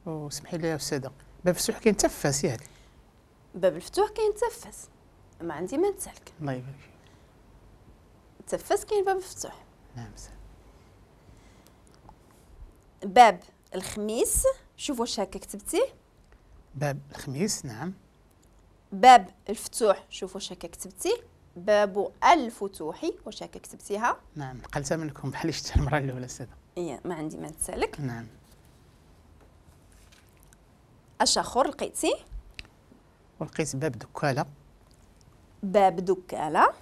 وسمحي لي يا استاذه، باب الفتوح كاين حتى في فاس ياك؟ باب الفتوح كاين حتى في فاس، ما عندي ما نتسالك. الله يبارك فيك. حتى في فاس كاين باب الفتوح. نعم أستاذ. باب الخميس، شوف واش هكا كتبتيه. باب الخميس، نعم. باب الفتوح، شوف واش هكا كتبتيه. باب الفتوح، واش هكا كتبتيها؟ نعم، نقلتها منكم بحال شفتها المرة الاولى استاذه. إيه، ما عندي ما نتسالك. نعم. اش اخر لقيتي؟ ولقيت باب دكاله. باب دكاله.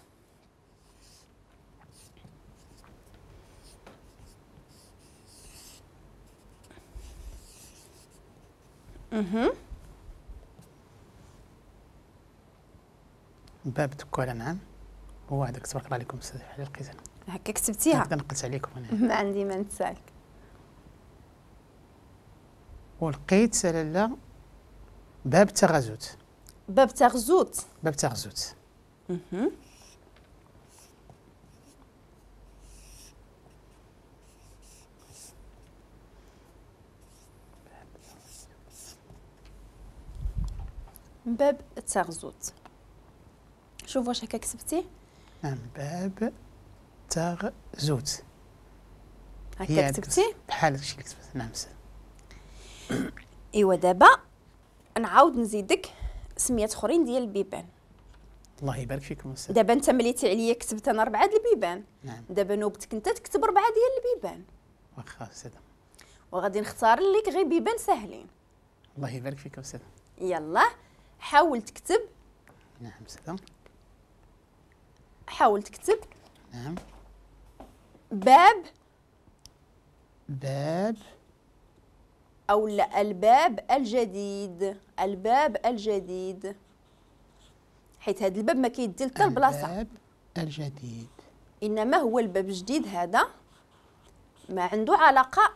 باب دكاله، نعم. هو هذاك، تبارك الله عليكم استاذ، بحال لقيت انا. هكا كتبتيها؟ هكذا نقلت عليكم انا. ما عندي ما نتسالك. ولقيت لاله باب تغازوت. باب تغزوت. باب تغزوت. باب تغزوت. شوف واش هكا كتبتيه. نعم، باب تغزوت. هكا كتبتيه؟ بحال هادشي اللي كتبت. نعم. ايوا دابا نعاود نزيدك سميات اخرين ديال البيبان. الله يبارك فيكم استاذ. دابا انت مليتي عليا كتبت انا 4 د البيبان. نعم. دابا نوبتك انت تكتب 4 ديال البيبان. واخا استاذ. وغادي نختار لك غير بيبان ساهلين. الله يبارك فيك استاذ. يلا حاول تكتب. نعم استاذ. حاول تكتب. نعم. باب. باب أو لا، الباب الجديد. الباب الجديد، حيت هذا الباب ما كيدي حتى البلاصة. الباب الجديد، إنما هو الباب الجديد هذا ما عنده علاقة